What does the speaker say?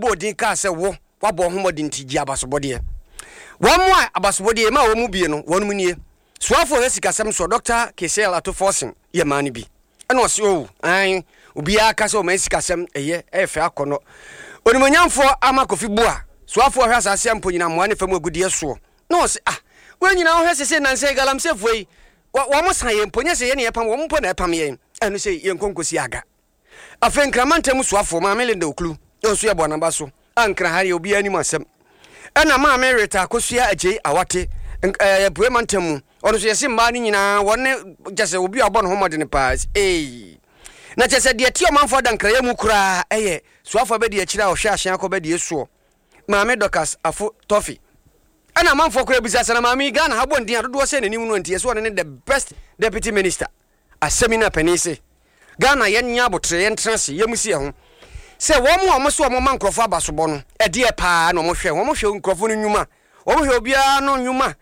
Bɔɔ din kaa sɛ, Wo, woabɔ wo ho mmɔden nti, gye abasobɔdeɛ. Wɔn a abasobɔdeɛ yɛmaa wɔn mu bie no, wɔnom nie, Soafoɔ a ɔhwɛ sikasɛm soɔ, Dɔkta Cassiel Ato Forson yɛ maa no bi. Ɛna ɔse, Oh, aane, obiara ka sɛ ɔman sikasɛm ɛyɛ, ɛyɛ fɛ akɔnnɔ. Onimuonyamfoɔ Armah Kofi Buah, Soafoɔ a ɔhwɛ asaase a mpo nyina mmoa ne fam agudeɛ soɔ, na ɔse, Ah, wei nyinaa wohwɛ sesei nnansa yi galamseyfoɔ yi, wɔn sa yɛn mpo, nyɛ sɛ yɛn na yɛpam wɔn mpo na ɛpam yɛn, ɛno sei yɛnkɔ nkɔsi aga. Afei Nkran mantam soafoɔ Maame Linda Oklu nso yɛ bɔ n'aba so a Nkran ha deɛ obiara nim asɛm. Ɛna Maame Rita Akosua Agyei Awate ɛɛ Apuei mantam mu ɔno nso yɛse mmaa no nyinaa wɔn ne kyɛ sɛ obi a ɔbɔ ne ho mmɔden paa ee. Na kyɛ sɛ deɛ ɛte ɔmanfoɔ adankrayɛ mu koraa ɛyɛ soafoɔ abɛdi akyire a ɔhwɛ ahyɛn akɔ bɛdie soɔ Maame Dorcas Afo Toffey. Ɛna amanfoɔ koraa bisa sɛ na maame yi Ghana ha bɔ ne din a dodoɔ sɛ n'anim no nti yɛse ɔno ne the best deputy minister. Asɛm yi na panin se Ghana yɛn nyɛ aboterɛ yɛn tena ase yɛn musi yɛn ho sɛ wɔn a wɔn se wɔn ma nkorɔfoɔ abasobɔ no ɛdeɛ paa na wɔn hwɛ wɔn hwɛ nkorɔfoɔ no nwuma wɔn hwɛ obiara no nwuma.